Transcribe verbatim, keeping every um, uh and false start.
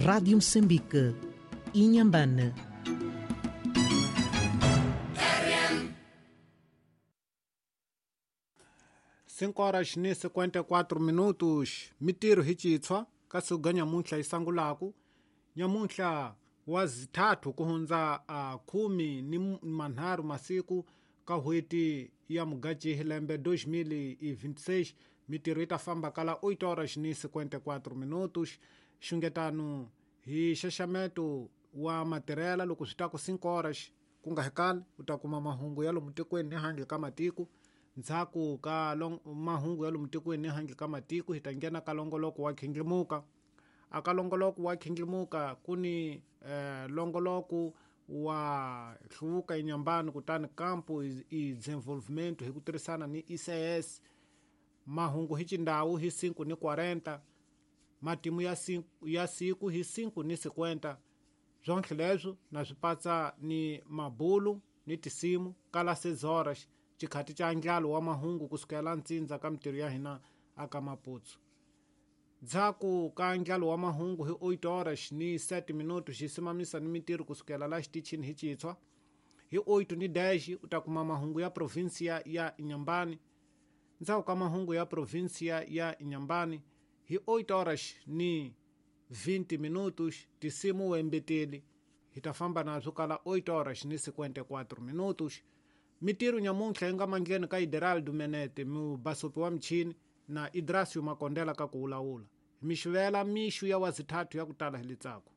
Rádio Moçambique, Inhambane. cinco horas ni cinquenta e quatro minutos. Mitiro hichitswa kasuga nyamunhla isangulaku nyamunhla wazithathu kuhundza uh, khumi ni manharhu masiku ka hweti ya Mugajihi lembe dois mil e vinte e seis. Mitiro yi ta famba kala oito horas ni cinquenta e quatro minutos. Xungetano hi xaxameto wa matirhela loko swi ta ku cinco horas ku nga hekali u ta kuma mahungu ya lomu tikweni ni handle ka matiko. Ndzhaku ka mahungu ya lomu tikweni ni handle ka matiko hi ta nghena ka longoloko wa khindlimuka. A ka longoloko wa khindlimuka ku ni eh, longoloko wa hluvuka eNyambani kutani kampo i desenvolvimento hi ku tirhisana ni I C S. Mahungu hi xindhawu hi cinco ni quarenta, matimu ya cinco, ya siku hi cinco ni cinquenta. Swonke leswo na swi patsa ni mabulu ni tisimu kala seis horas xikhati xa ndlalo wa mahungu kusukela ntsindza ka mitirho ya hina aka Maputo. Ndzhaku ka ndlalo wa mahungu hi oito horas ni sete minutos xi simamisa ni mitirho kusukela la xitichini hi Chitshwa. Hi oito ni dez u ta kuma mahungu ya provinsia ya Inhambane. Ndzhaku ka mahungu ya provinsia ya Inhambane hi oito horas ni vinte minutos tisimu wembeteli hi ta famba nazwo kala oito horas ni cinquenta e quatro minutos. Mitirho nyamuntlha yi nga mandleni ka Ideraldo Menete mubasopi wa michini na Idrasio Makondela ka ku wulawula. Mixivela mixu ya wazithathu ya ku tala hi litsako.